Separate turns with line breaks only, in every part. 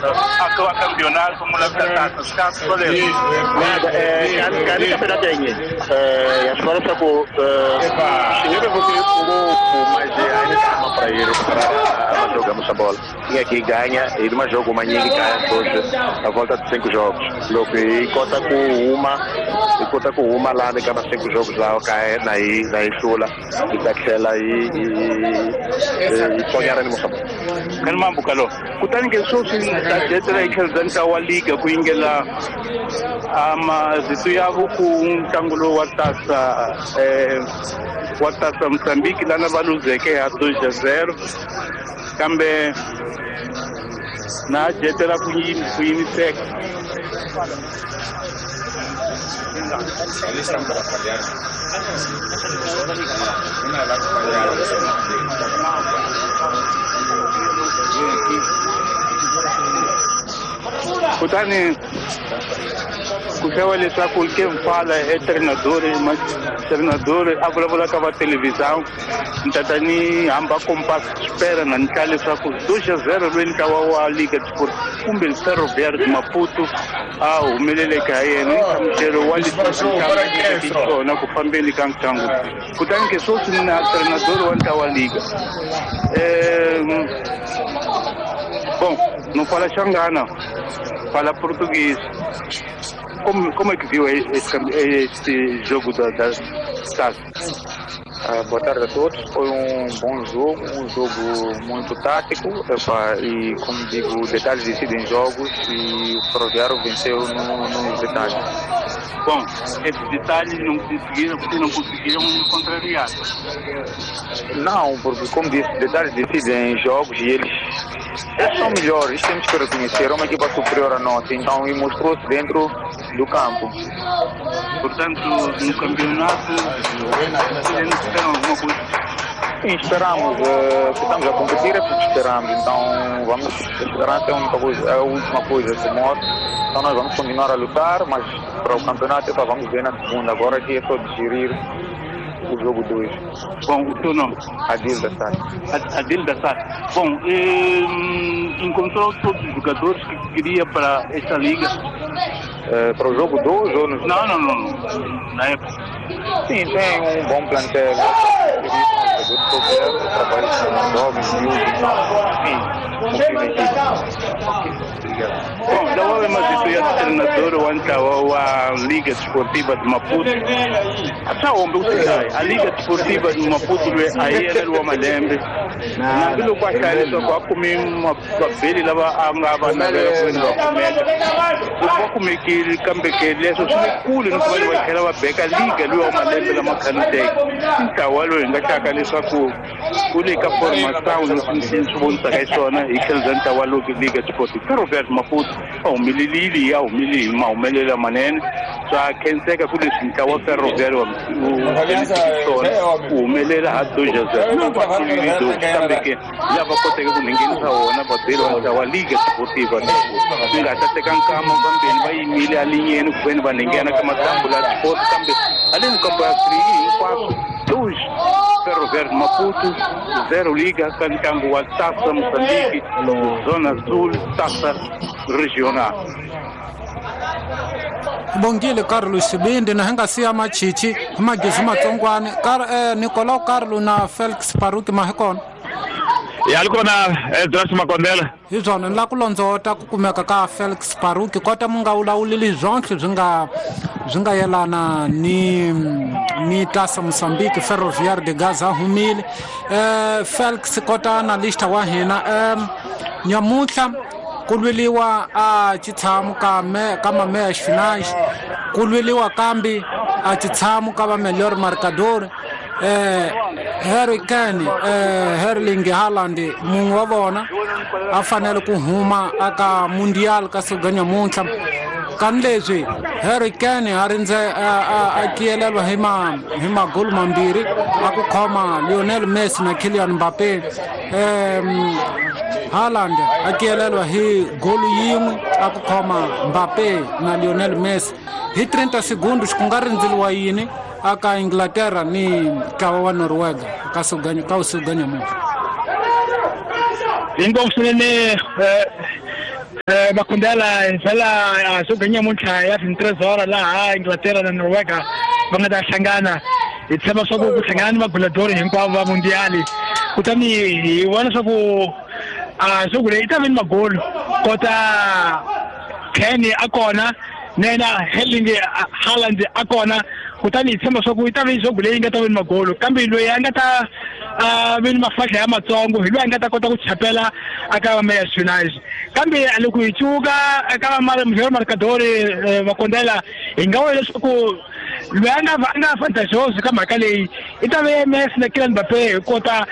a campeonato mula swoleswo.
Kani campeonato ya nyini ya swi vona leswaku swi nge vevuki ngopfu, mas ainda tá para ele para jogamos a bola. Tinha que ganha e de jogo manyingi kaya hoje a volta de 5 jogos. Loko hi kota ku huma, hi kota ku huma lani ka ma 5 jogos lawa kaya na hi na hi hlula, hi ta tlhela hi hi tsonyana ni Mozambique.
Kani mambuka lo kutani ke sweswi ta jetela hi tlhelo bya ntlawa wa liga ku yingela mavito ya ku ntlangu lowu wa tasa wa tasa Mozambique lana va luzeke ha 2-0 kambe na jetela ku yimiseka. Kutani ku xava leswaku ke mfala e treinador treinador a vulavula ka va televisão ni tata ni hamba compass espera na ni tla leswaku 2-0 loyi ntlawa wa Liga Sport kumbe Ferroviário de Maputo a humeleleke ha yena nhlamuselo wa leswi ku fambeni ka ntlangu. Kutani ke sweswi na treinador wa ntlawa wa Liga bom, não fala xangana, fala português. Como é que viu este jogo da TAS?
Boa tarde a todos. Foi um bom jogo, um jogo muito tático. E, como digo, detalhes decidem jogos e o Ferroviário venceu nos detalhes.
Bom, esses detalhes não conseguiram, vocês não conseguiram contrariar?
Não, porque, como disse, detalhes decidem jogos e eles são melhores, temos que reconhecer, é uma equipa superior a nossa, então, e mostrou-se dentro do campo.
Portanto, no campeonato, vocês não esperam alguma coisa?
Sim, esperamos. Se estamos a competir é porque esperamos, então vamos, a esperança é a única coisa, é a última coisa que morre. Então nós vamos continuar a lutar, mas para o campeonato vamos ver na segunda. Agora aqui é só digerir o jogo 2.
Bom, o teu nome?
Adil da Sá.
Adil da Sá. Bom, encontrou todos os jogadores que queria para esta liga?
Para o jogo 2 ou no...
Não. Na época.
Sim, tem um bom plantel. Trabalho com jovens, miúdos. Sim, confio na equipe.
Obrigado. Bom, da mas isso é treinador wa Liga Desportiva de Maputo. A Liga Desportiva de Maputo aí era o Malembe. Naquilo que achar só para comer uma papel lava a ngaba na vera comer que kambe que leso swi no vai tlhela va beka liga luwa malembe lama khanuteke ntlawa lowu hi nga hlaka leswaku ku le ka formação leswi swi vonisaka hi swona hi tlhelo bya ntlawa lowu Liga Desportiva Ferroviário de Maputo a humelelile ya humeleli hi mahumelela manene swa khenseka ku leswi ntlawa Ferroviário swona ku humelela ha 2-0 kambe ke lava koteke ku nghenisa wona vabeli wa ntlawa Liga Desportiva swi nga ta teka nkama kambeni va yimile alinyeni ku veni va nghena ka matambu la sport kambe aleni kambo ya free hinkwaswo 2 Ferroviário de Maputo 0 Liga ka ntlangu wa Taça Moçambique Zona Sul Taça Regional.
Bongile Carlos Sibindi na hinga siya machichi magizu matsongwane Nicolau Carlos na Felix Paruki mahikona
ya likona Edras Makondela
hi swona ni la ku londzota ku kumeka ka Felix Paruki kota mu nga vulavuleli swonhle swi nga yelana ni Taça Moçambique Ferroviário de Gaza humile Felix kota analista wa hina nyamuntlha ku lweliwa a xitshamo ka mameya finais ku lweliwa kambi a xitshamo ka va melhor marcador Harry Kane Erling Haaland mun'we wa vona a fanele ku huma aka Mundial ka siku ra nyamuntlha kani leswi Harry Kane a rindze a kiyelelwa hi magolu mambirhi a ku khoma Lionel Messi na Kylian Mbappe Haaland a kiyelelwa hi golu yin'we a ku khoma Mbappe na Lionel Messi hi 30 segundos ku nga rindzeliwa yini aka Inglaterra ni ntlawa wa Noruega ka siku ra nyamuntlha.
Inkomu swinene.
Makondela fela so ganya muntlha ya 23 horas laha Inglaterra na Noruega va nga ta hlangana hi tshemba swa ku hlangana ni vagoladori hinkwavo va mundiali kutani hi vona swa ku swa ku leyi yi ta va ni magolo kota Kane a kona nena Erling Haaland a kona kutani hi tshemba swa ku yi ta va swa ku leyi nga ta va ni magolo kambe loyi a nga ta ve ni mafahla ya matsongo hi loyi a nga ta kota ku chapela aka va Meya United kambe loko hi cuka eka va marcadori Makondela hi nga vula leswaku loyi a nga fantasioso ka mhaka leyi i ta ve Messi na Kylian Mbappe hi kota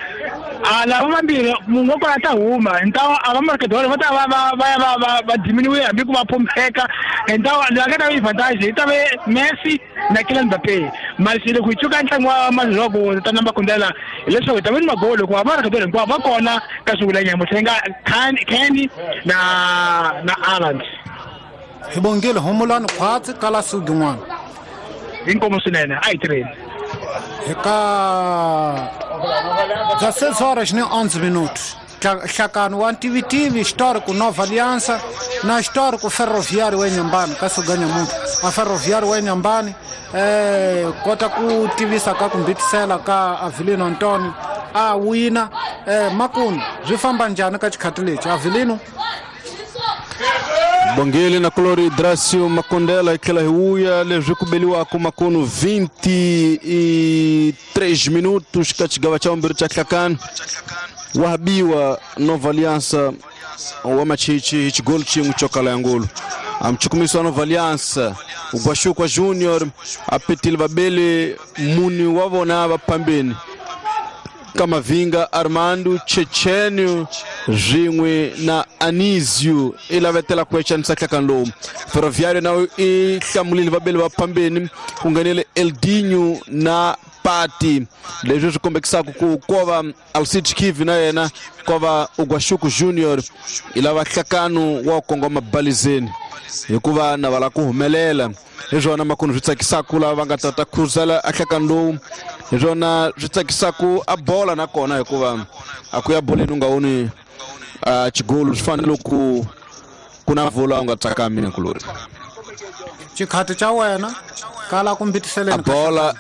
lava vambirhi munhu wa kona a ta huma hi ntawo a va marcadori va ta va ya va diminuwe hambi ku va phompeka hi ntawo loyi a nga ta va advantage i ta ve Messi na Kylian Mbappe masi loko hi cuka ntlangu wa maziloko ta na Makondela hileswaku hi ta va ni magolo hikuva marcadori hinkwavo va kona ka swivula nyamutlha yi nga Kane na Haaland.
Hi bongile humulani khwatsi kala sugi n'wana
inkomo swinene a hi tirheni
hi ka 16 horas ni 11 minutos hlakano wa ntivitivi Histórico Nova Aliança na Histórico Ferroviário wa Inhambane ka suga nyamuntlha a Ferroviário wa Inhambane kota ku tivisa ka ku mbitisela ka Avelino Antonio a wina makunu byi famba njhani ka xikhati lexi Avelino?
Bongele na Colori Dracio Makondela hi tlhela hi vuya leswi ku beliwaka makunu 23 minutos ka xigava xa vumbirhi xa hlakano wa habiwa Nova Aliança wa Machichi hi xigolo xin'we xo kala ya ngulu a mchukumiso wa Nova Aliança Ugwashukwa Junior a petile vabeli muni wa vona va phambeni Kamavinga Armando Chechenio swin'we na Anisio i lavetela ku echanisa hlakano lowu Ferroviário na i hlamulile vabeli va phambeni ku nghenele Eldinho na Pati leswi swi kombekisaka ku kova Alcide Kivi na yena kova Ugwashuku Junior i lava hlakano wa kongoma balizeni hikuva na va lava ku humelela hi swona makunu swi tsakisaka lava va nga ta khuzela a hlakano lowu hi swona swi tsakisaka a bola nakona hikuva a ku ya boleni u nga voni xigolo swi fanele ku ku na vula u nga tsakami na kulori
xikhati xa wena kala ku mbitiseleni
a bola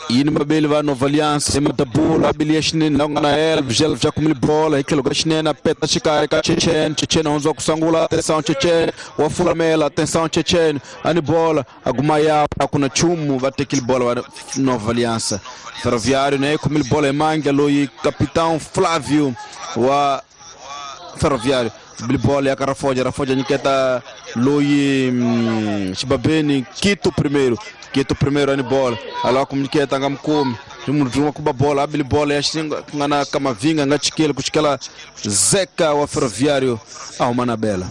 yini mabeli va Nova Aliança emadabula abili ya xinene la ku nga na Elvis Elvis a kumile bola hi tlhelo ka xinene a peta xikarhi ka Chechen Chechen a hundziwa ku sungula atenção Chechen wa fulamela atenção Chechen a ni bola a guma ya a ku na nchumu va tekile bola va Nova Aliança Ferroviário ne kumile bola hi mandla loyi capitão Flávio wa Ferroviário bili bola ya ka Rafoja Rafoja nyiketa loyi xibabeni Quito primeiro Quito primeiro ani bola ala ku nyiketa nga mukumi munhu wa kuba bola abili bola ya nga na Kamavinga nga chikele ku chikela Zeca wa Ferroviário a huma na bela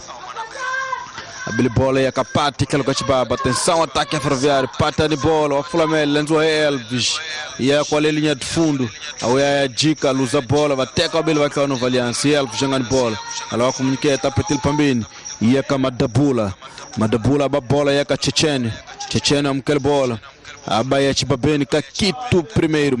abili bola ya Kapati tlhelo ka xibaba atenção ataque ya Ferroviário pata ni bola wa fulamela lendziwa hi Elvis ya kwale linha de fundo a ya jika luza bola va teka vabeli va tlhela Nova Aliança Elvis nga ni bola ala ku nyiketa petile phambeni ya ka Madabula Madabula ba bola ya ka Chechen Chechen amukela bola aba ya xibabeni ka Quito primeiro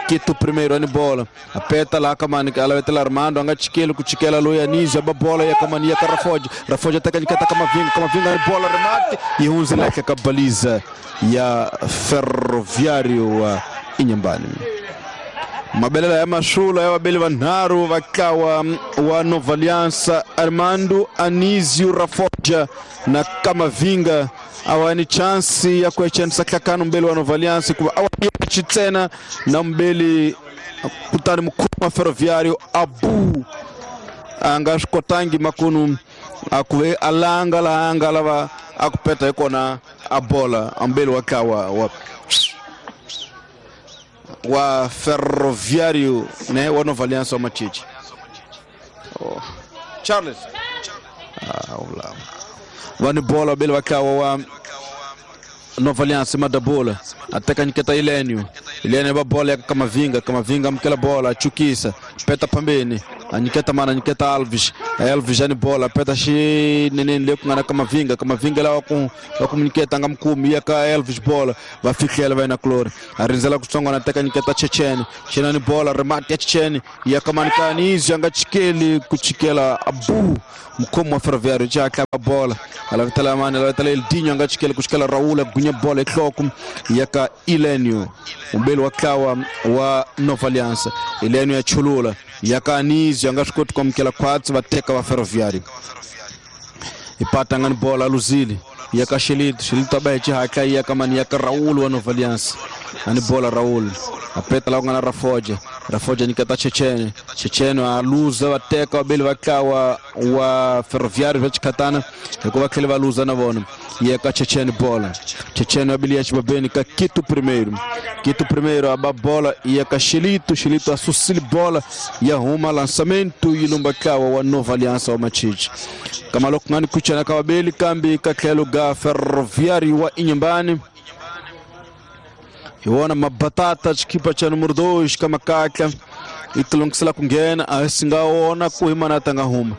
Quito primeiro ani bola apeta lá kamani ala vetela Armando anga chikele ku chikela loyi Anísio aba bola ya kamani ya ka Rafoja Rafoja teka nyiketa Kamavinga Kamavinga ani bola remate yi hundzela ka baliza ya Ferroviário wa Inhambane mabelela ya masula ya vabeli vanharhu va tlawa wa Nova Aliança Armando Anísio Rafoja na Kamavinga a va ni chance ya ku echanisa hlakano mbeli wa Nova Aliança hikuva a wa xitsena na mbeli kutani mukhumu wa Ferroviário Abu a nga swi kotangi makunu a ku ve a langa laha a nga lava a ku peta hi kona a bola a mbeli wa tlawa wa Ferroviário ne wa Nova Aliança wa Machichi oh. Charles va ni bola vabeli va tlawa wa Nova Aliança Madabula a teka nyiketa Elenio Elenio va bola ya Kamavinga Kamavinga amukela bola a chukisa peta phambeni A nyiketa mana, nyiketa Alves. Alves ani bola, peta xineneni le ku nga na Kamavinga. Kamavinga lawa ku va ku nyiketa nga mukumi ya ka Elvis bola, va fihlela va yena Glory. A rindzela kutsongwana teka nyiketa Chechene. Chechene ni bola, remate ya Chechene ya Kamanikani izwi a nga chikeli ku chikela Abu mukhomi wa Ferroviário xa tlava bola. A lavitela mani, a lavitela Eldinho a nga chikeli ku chikela Raul a gunya bola enhloko ya ka Elenio, mumbeli wa ntlawa wa Nova Aliança. Elenio ya chulula ya ka Anísio a nga swi koti ku amukela khwatsi, va teka va Ferroviário. Ipata nga ni bola a luzile ya ka Xelito. Xelito a ba hi xihatla ya ka mani, ya ka Raul wa Nova Aliança. A ni bola Raul a peta la ku nga na Rafoja. Rafoja nyiketa Chechene. Chechene a luza, va teka vabeli va ntlawa wa Ferroviário va xikhatana hikuva tlhela va luza na vona. Ya ka Chechene bola. Chechene wa bili ya xibabeni ka Quito primeiro. Quito primeiro a ba bola ya ka Xelito. Xelito a susile bola ya huma lançamento yi lumba ntlawa wa Nova Aliança wa Machichi. Kama loko nga ni kuchana ka vabeli kambe ka tlhelo ga Ferroviário wa Inhambane. Hi wona mabatata xikipa xa numero 2 ka makatla i tilungisela ku nghena, a swi nga wona ku hi mana ta nga huma.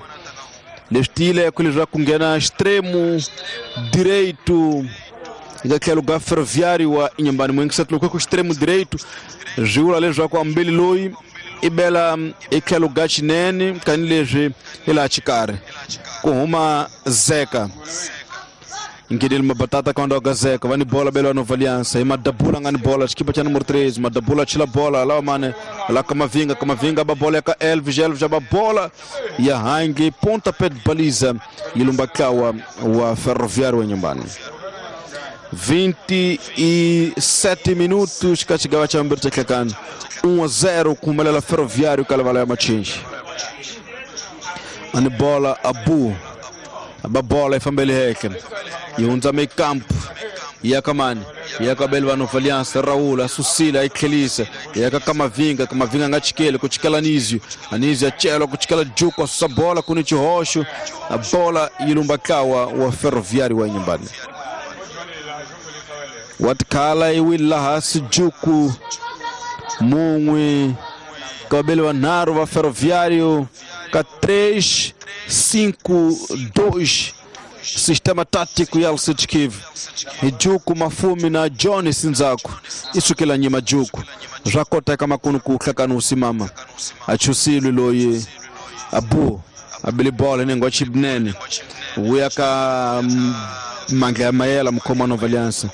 Leswi tiyile ku leswaku ku nghena extremo direito eka tlhelo ga Ferroviário wa Inhambane. Muingiseti loko ku extremo direito swi vula leswaku ambeli loyi i bela etlhelo ga xinene tanihileswi hi laha xikarhi ku huma Zeka. Nghenele mabatata ka ndhawu ka Zeka, va ni bola bela Nova Aliança. Hi Madabula nga ni bola, xikipa xa numero 3, Madabula chila bola lawa mane la Kamavinga. Kamavinga ba bola ya ka Elvis. Elvis ba bola ya hangi ponta pé de baliza yi lumba ntlawa wa Ferroviário wa Inhambane. 27 minutos ka xigava xa vumbirhi xa nhlekani, 1-0 ku humelela Ferroviário ka livala ya Machinji. A ni bola Abu ba bola yi fambele henhla yi hundza mekampo ya ka mani, ya ka beli va Nova Aliança. Raul a susile a yi tlhelisa ya ka Kamavinga. Kamavinga a nga chikeli ku chikela Anísio. Anísio a chela ku chikela Juku, a susa bola ku ni xihoxo, a bola yi lumba ntlawa wa Ferroviário wa Inhambane. Wa tikhala yi wile laha hansi Juku mun'we ka vabeli vanharhu va Ferroviário ka 3 5 2 sistema tático ya Alcide Kivu. Hi Juku Mafumi na John Sinzaku i sukela nyima Juku swa koteka makunu ku hlakana u simama a chusilwi loyi Abu a bili bola ni ngwa chibnene vuya ka mandla ya mayela mukhoma wa Nova Aliança.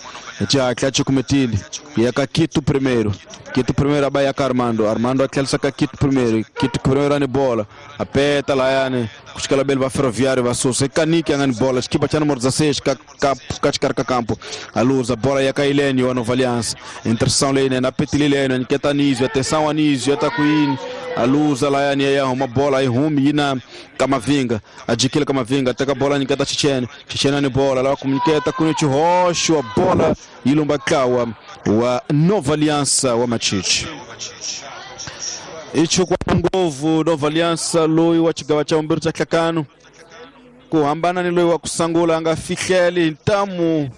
Xihatla xikumetile ya ka Quito primeiro. Quito primeiro a ba ya ka Armando. Armando a tlherisa ka Quito primeiro. Quito primeiro a ni bola a peta layani ku xikela beli va Ferroviário va susa. I Kaniki a nga ni bola, xikipa xa numero 16 ka ka xikarhi ka kampo a luza bola ya ka Elenio wa Nova Aliança. Interseção leyinene a petile Elenio, a nyiketa Anísio. Atenção Anísio, ta ku yini a luza layani ya huma bola yi humi yi na Kamavinga. A jikile Kamavinga teka bola nyiketa Chechene. Chechene ni bola lava ku nyiketa ku ni xihoxo, a bola yi lumba ntlawa wa Nova Aliança wa Machichi. I chukwa ngopfu Nova Aliança loyi wa xigava xa vumbirhi xa nhlekano ku hambana ni loyi wa ku sungula a nga fihleli ntamu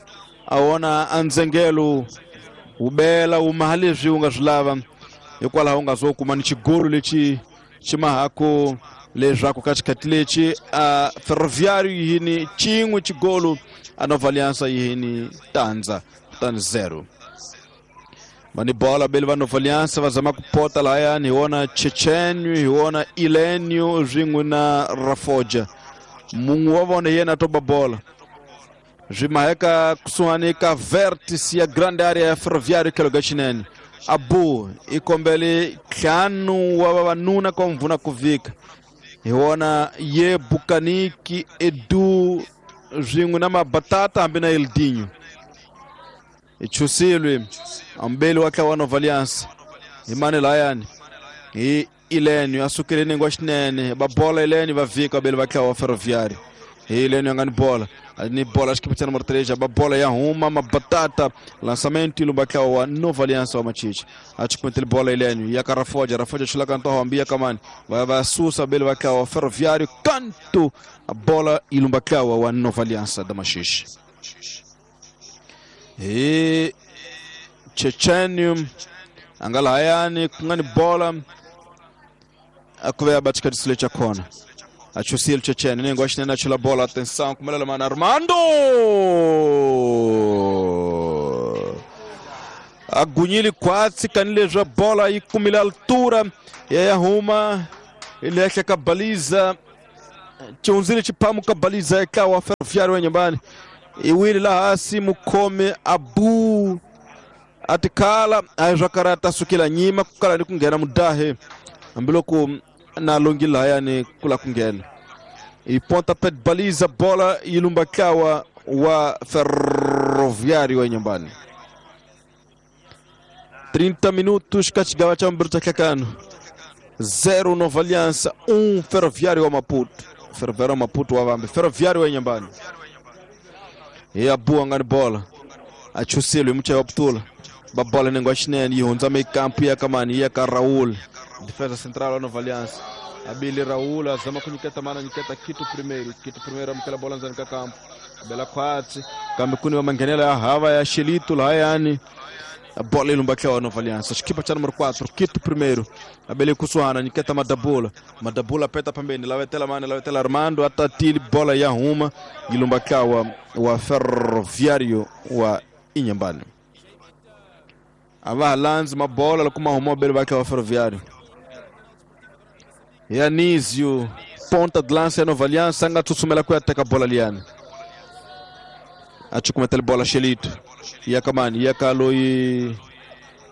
a wona a ndzengelo wu bela wu maha leswi wu nga swi lava, hikwalaho u nga zo kuma ni xigolo lexi xi mahaku leswaku ka xikhathi lexi a Ferroviário yi ni xin'we xigolo, a Nova Aliança yi ni tandza kutani 0. Va ni bola beli va Nova Aliança va zama ku pota lahayani, hi wona Chechenio, hi wona Elenio swin'we na Rafoja. Mun'we wa vona hi yena a toba bola swi maheka kusuhani ka vértice ya grande area ya Ferroviário tlhelo ka xinene. Abu i kombele ntlhanu wa vavanuna ka mvuna ku vika, hi wona ye Bukaniki Edu swin'we na Mabatata hambi na Eldinho. I chusilwe ambeli wa ntlawa wa Nova Aliança hi mani layani hi Elenio a sukile nengwa xinene va bola Elenio va vika vabeli va ntlawa wa Ferroviário. Hi Elenio a nga ni bola, ni bola xikipa xa numero 3 ba bola ya huma Mabatata lançamento yi lumba ntlawa wa Nova Aliança wa Machichi. A chikumetile bola Elenio ya ka Rafoja. Rafoja chula ntoho hambi ya kamani va va susa vabeli va ntlawa wa Ferroviário kanto a bola yi lumba ntlawa wa Nova Aliança da Machichi. Hi Chechenium a nga lahayani ku nga ni bola ku va ba xikhatisile cha khona a chusile Chechene nengo a xinene a chula bola atenção kumelela mana Armando a gunyile kwatsi kanilezwa bola yi kumile altura ya huma ile ka baliza chunzile chipamu ka baliza ekawa Ferroviário wa nyumbani iwili la hasi mukome abu atikala aizvakarata sukila nyima kukala ni kungena mudahe ambiloko na longila yani kula kungena iponta pet baliza bola ilumbakawa wa Ferroviário wa nyumbani 30 minutos kachigawa cha mbirta kakano 0 Nova Aliança 1 Ferroviário wa Maputo. Ferroviário wa Maputo wa vambe Ferroviário wa nyumbani ya bua ngani bola achusile mcha wa ptula babola nengo ashinene ihonza mekampu ya kamani ya ka Raul defesa central wa Nova Aliança abili Raul azama kunyiketa mana nyiketa kitu primeiro amkela bola nzani ka kampu bela kwatsi kambe kuni wa mangenela ya hava ya Shelito la yani bola ilumba wa Nova Aliança equipa cha número 4 Quito primeiro abele kusuana nyiketa Madabula Madabula peta pembeni lavetela mane lavetela Armando atatili bola ya huma ilumba wa Ferroviário wa Inhambane ava lanz mabola lokuma huma bele bakhe wa Ferroviário Yanísio ponta de lança ya Nova Aliança anga tsutsumela ku ateka bola liana achukumetela bola Shelito yakamani yakaloi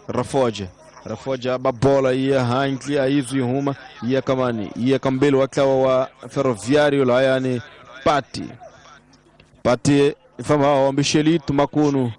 Rafoja Rafoja babola ya hankli aizu huma yakamani yakambelo wakawa wa Ferroviário la yani Pati Pati fama wa Shelito makunu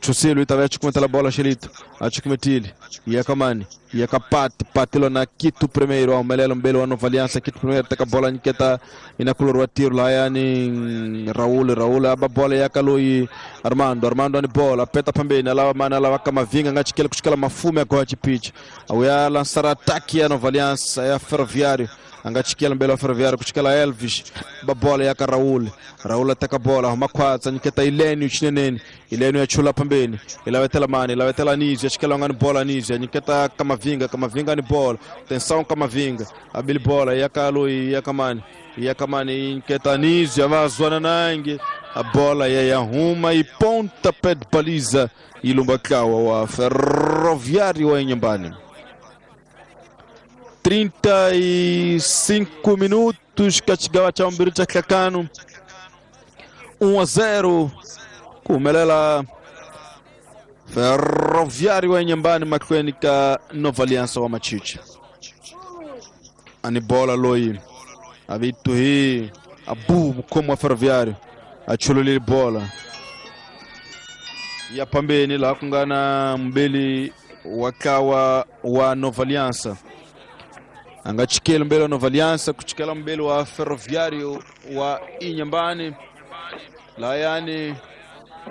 Chusilo itavia chukumetela bola Shelito achukumetile yakamani yakapati patilo na Quito primeiro ao melelo mbelo wa Nova Aliança Quito primeiro teka bola niketa inakulorwa tiro la yani Raul Raul aba bola yakaloi Armando Armando ani bola peta pembeni alawa mana alawa kama vinga ngachikela kuchikela mafume kwa chipicha au ya lançar ataque ya Nova Aliança ya Ferroviário angachikela mbele wa Ferroviário kuchikela Elvis babola ya Raul Raul ataka bola makwatsa niketa Ilênio chinenene Ilênio achula pembeni ilawetela mane ilawetela Nizia achikela ngani bola Nizia niketa Kamavinga Kamavinga ni bola tensão Kamavinga abili bola yakaloi yakamani yakamani niketa Nizia vazwana nange a bola ya Yahuma e ponta pé de baliza ilumbakawa wa Ferroviário wa Inhambane 35 minutos kachigawa cha mbiri cha kakano 1-0 kumelela Ferroviário wa Inhambane makweni ka Nova Aliança wa Machichi ani bola loi avitu hi abu mkomo wa Ferroviário achululile bola ya pambeni la kungana mbili wakawa wa Nova Aliança angachikela mbele wa Nova Aliança kuchikela mbele wa Ferroviário wa Inhambane la yani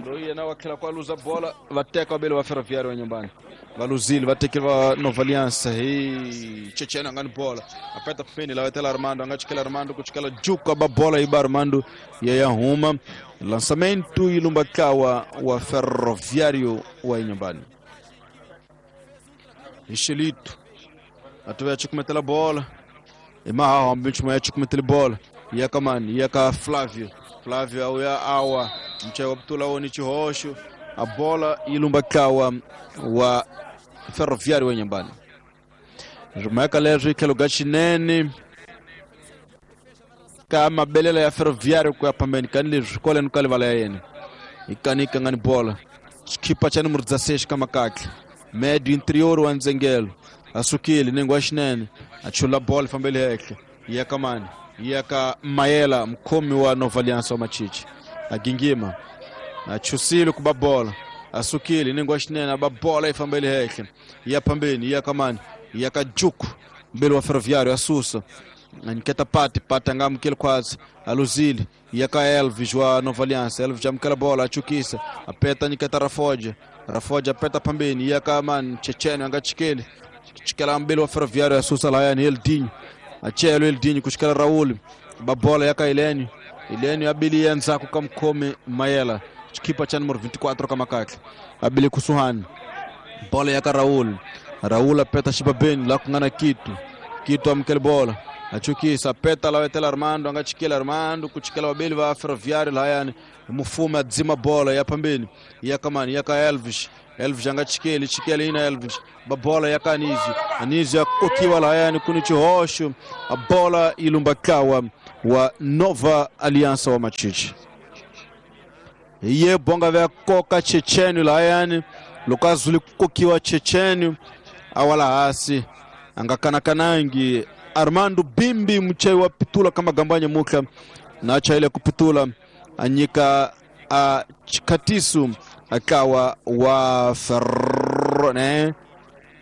ndoiye na wakila kwa luza bola vateka mbele wa Ferroviário wa Inhambane valuzile vatekela Nova Aliança hii Chechena ngani bola apeta pembeni la wetela Armando angachikela Armando kuchikela juka ba bola iba Armando ya Yahuma lançamento ilumbakawa wa Ferroviário wa Inhambane Ixelito atuwe chukumetela bola imaha ambicho ya chukumetela bola yakamani yaka Flávio Flávio au ya awa mchewa ptula oni chihosho a bola ilumbakawa wa Ferroviário wa Inhambane Rumeka lezo ikelo gachinene kama belela ya Ferroviário kwa pambeni kanile kole nukale vala yene ikanika ngani bola chikipa cha número 16 kama kake médio interior wa Nzengelo asukile nengo ashinene achula bola fambele heke yakamani yaka Mayela mkomi wa Nova Aliança wa Machichi agingima achusile kuba bola asukile nengo ashinene aba bola ifambele heke ya pambeni yakamani yakajuku mbele wa Ferroviário asusa nketa pati pati angamukele kwazi aluzile yaka Elvis wa Nova Aliança Elvis amukela bola achukisa apeta niketa Rafoja Rafoja apeta pambeni yaka man Chechene angachikele chikela mbele wa Ferroviário asusa la yani Eldinho achelo Eldinho kuchikela Raul babola yaka Ilênio Ilênio abili yanza kukamkome Mayela chikipa cha número 24 kama kake abili kusuhani bola yaka Raul Raul apeta shibabeni la kungana kitu Chiquito amukele bola achukisa peta lawetela Armando anga chikela Armando kuchikela wabeli va Ferroviário lahayani mufumi adzima bola ya pambeni ya kamani ya ka Elvis. Elvis anga chikeli chikela ina Elvis babola ya ka Anísio. Anísio akokiwa lahayani kuni chihoxo a bola ilumbakawa wa Nova Aliança wa Machichi ye bonga vya koka Checheni lahayani lokazuli kukokiwa Checheni awala hasi angakanakanangi Armando Bimbi mchai wa pitula kama gambanya muka na acha ile kupitula anyika a chikatisu akawa wa ferro ne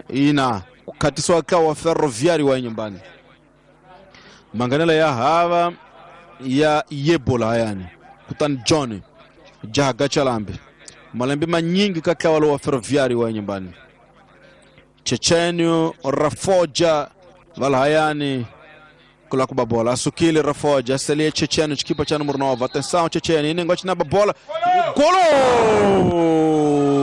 ina katisu akawa wa Ferroviário wa nyumbani manganela ya hava ya yebola yani kutani John jahaga chalambi malembe manyingi kakawa wa Ferroviário wa nyumbani Chechenio Rafoja valhayani kula kubabola asukile Rafoja aselie Checheno chikipa cha número 9 atenção Checheno inengo chinaba bola golo.